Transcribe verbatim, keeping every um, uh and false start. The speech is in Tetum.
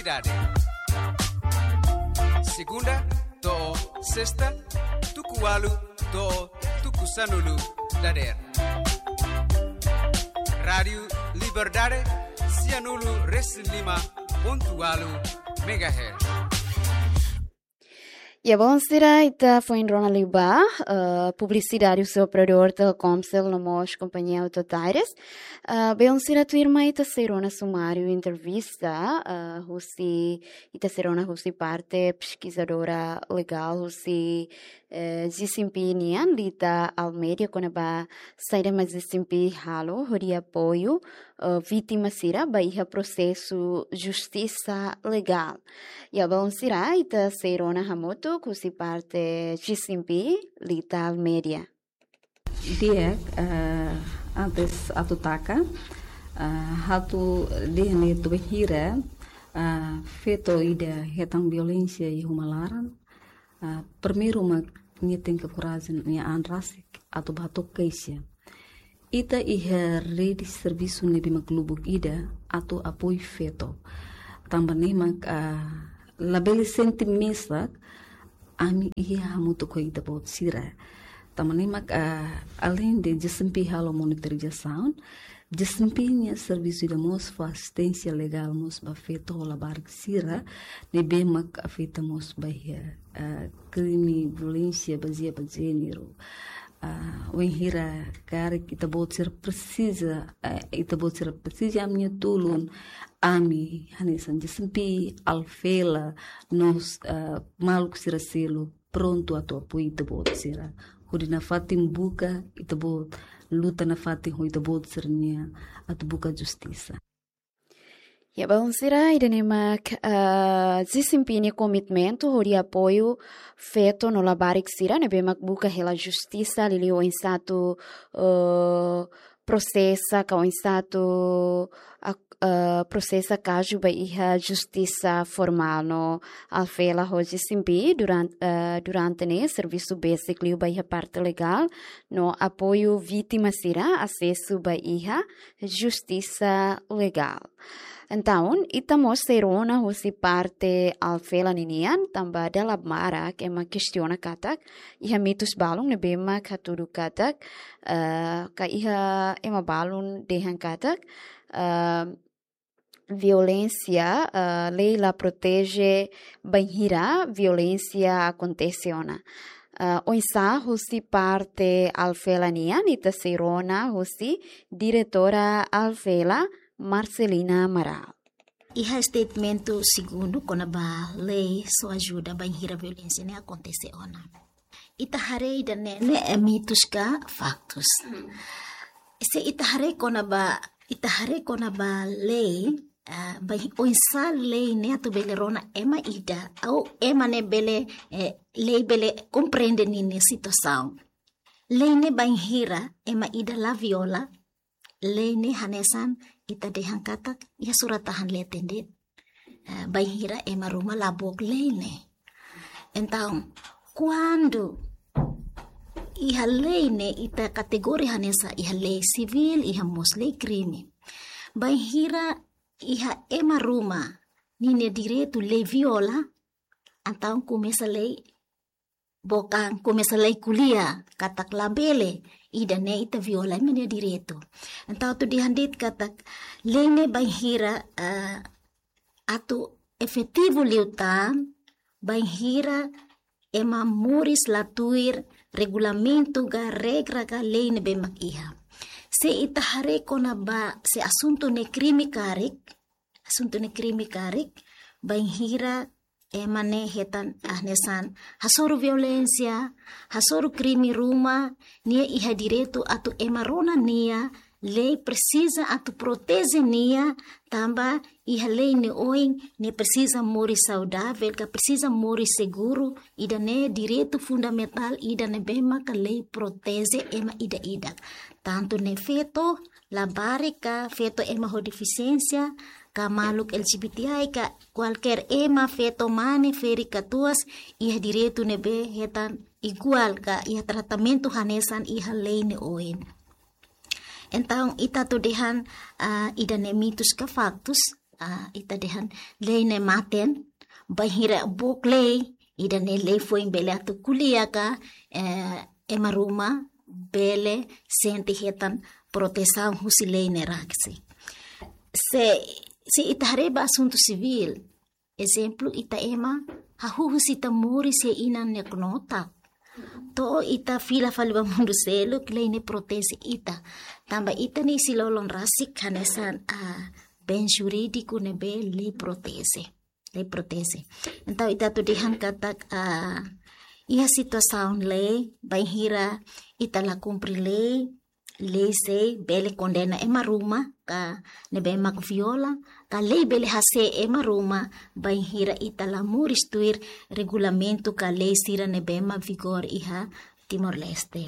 Dade. Segunda to'o sesta, tuku ualu to'o tuku sanulu dadeer. Rádiu Liberdade, sianulu resin lima pontu ualu megahertz. Ya, balu sira, ita foin rona liubá, eh, publisidade husi operadór Telkomcel no mós kompañia Autotaires. Eh, balu sira, tuirmai ita sei rona sumáriu entrevista, eh, husi, ita sei rona husi parte peskizadora legál husi, eh, G C M P nian, Lita Almeida, kona-ba saida mak G C M P halo hodi apoiu, eh, vítima sira ba iha prosesu justisa legál. Ya, balu sira, ita sei rona hamutuk husi parte G C M P, Lita Almeida. Di'ak, eh, antes atu taka, eh, ha'u atu dehan ne'e tuir bainhira, eh, feto ida hetan violénsia iha uma laran, eh, primeiru mak nia tenke korajen, nia an rasik atu bá hato'o keixa. Ita iha rede servisu ne'ebé mak lubuk ida atu apoiu feto. Tanba ne'e mak, ah, labele sente mesak, ami iha hamutuk ho ita-boot sira. Tanba ne'e mak, ah, além de G C M P halo monitorizasaun, G C M P nia servisu ida mós fó asisténsia legál mós ba feto ho labarik sira ne'ebé mak afeta mós ba iha, ah, krime violénsia bazeia ba jéneru. Ah, wainhira karik ita-boot sira presiza, eh, ita-boot sira presiza ami-nia tulun, ami hanesan G C M P, Alvela, no, eh, maluk sira seluk prontu atu apoiu ita-boot sira. Hodi nafatin buka ita-boot, luta nafatin ho ita-boot sira-nian atu buka justisa. Ya, balu sira, ida-ne'e mak, eh, G C M P nia komitmentu hodi apoiu feto no labarik sira ne'ebé mak buka hela justisa, liuliu oinsá atu, eh, prosesa, ka oinsá atu, ak-, eh, prosesa kazu ba iha justisa formál no Alvela ho G C M P duran-, eh, durante ne'e servisu besik liu ba iha parte legál no apoiu vítima sira asesu ba iha justisa legál. Entaun, ita mós sei rona husi parte Alvela ninian, tanba dala barak ema kestiona katak iha mitus balun ne'ebé mak hatudu katak, eh, ka iha ema balun dehan katak, eh, violénsia, eh, lei la proteje bainhira violénsia akontese ona. Eh, oinsá husi parte Alvela nian, ita sei rona husi diretora Alvela, Marcelina Amaral. Iha statement segundu kona-ba lei só ajuda bainhira violénsia ne'e akontese ona. Ita haree ida-ne'e, ne'e mitus ka faktus? Se ita haree kona-ba, ita haree kona-ba lei, ah, ba oinsá lei ne'e atu bele rona ema ida, ou ema ne'e bele, eh, lei bele komprende ninia situasaun. Lei ne'e bainhira ema ida la viola, lei ne'e hanesan ita dehan katak iha surat tahan leten de'it. Eh, bainhira ema ruma la book lei ne'e. Entaun, kuandu iha lei ne'e ita kategoria hanesan iha lei sivíl, iha mós lei krime. Bainhira iha ema ruma ninia direitu lei viola, entaun komesa lei book an, komesa lei ko'alia katak labele, ida-ne'e ita viola ema nia direitu. Entaun atu dehan de'it katak lei ne'e bainhira, eh, atu efetivu liután, bainhira ema moris la tuir regulamentu ka regra ka lei ne'ebé mak iha. Se ita haree kona-ba se asuntu ne'e krime karik, asuntu ne'e krime karik, bainhira ema ne'e hetan, ah, hanesan hasoru violénsia, hasoru krime ruma, nia iha direitu atu ema rona nia, lei presiza atu proteje nia, tanba iha lei ne'e oin, nia presiza moris saudavel, ka presiza moris seguru, ida-ne'e direitu fundamentál ida ne'ebé maka lei proteje ema ida-idak. Tantu ne'e feto, labarik ka feto ema ho defisiénsia, ka maluk L G B T I ka kualkér ema, feto mane, ferik katuas, iha direitu ne'ebé hetan iguál ka iha tratamentu hanesan iha lei ne'e oin. Entaun, ita atu dehan, ah, ida-ne'e mitus ka faktus, ah, ita dehan lei ne'e maten, bainhira buat lei, ida-ne'e lei foin bele atu ko'alia katak, eh, ema ruma bele sente hetan protesaun husi lei ne'e rasik. Se, se ita haree ba asuntu sivíl, ezemplu, ita ema hahú husi ita moris iha inan nia knotak. To'o ita fila fali ba mundu seluk, lei ne'e proteje ita. Tanba ita-nia isin-lolon rasik hanesan, ah, bens jurídiku ne'ebé lei proteje. Lei proteje. Entaun ita atu dehan katak, ah, iha situasaun lei, bainhira ita la kumpre lei, lei sei bele kondena ema ruma, ka ne'ebé mak viola, ka lei bele hase'e ema ruma, bainhira ita la moris tuir regulamentu ka lei sira ne'ebé mak vigora iha Timor-Leste.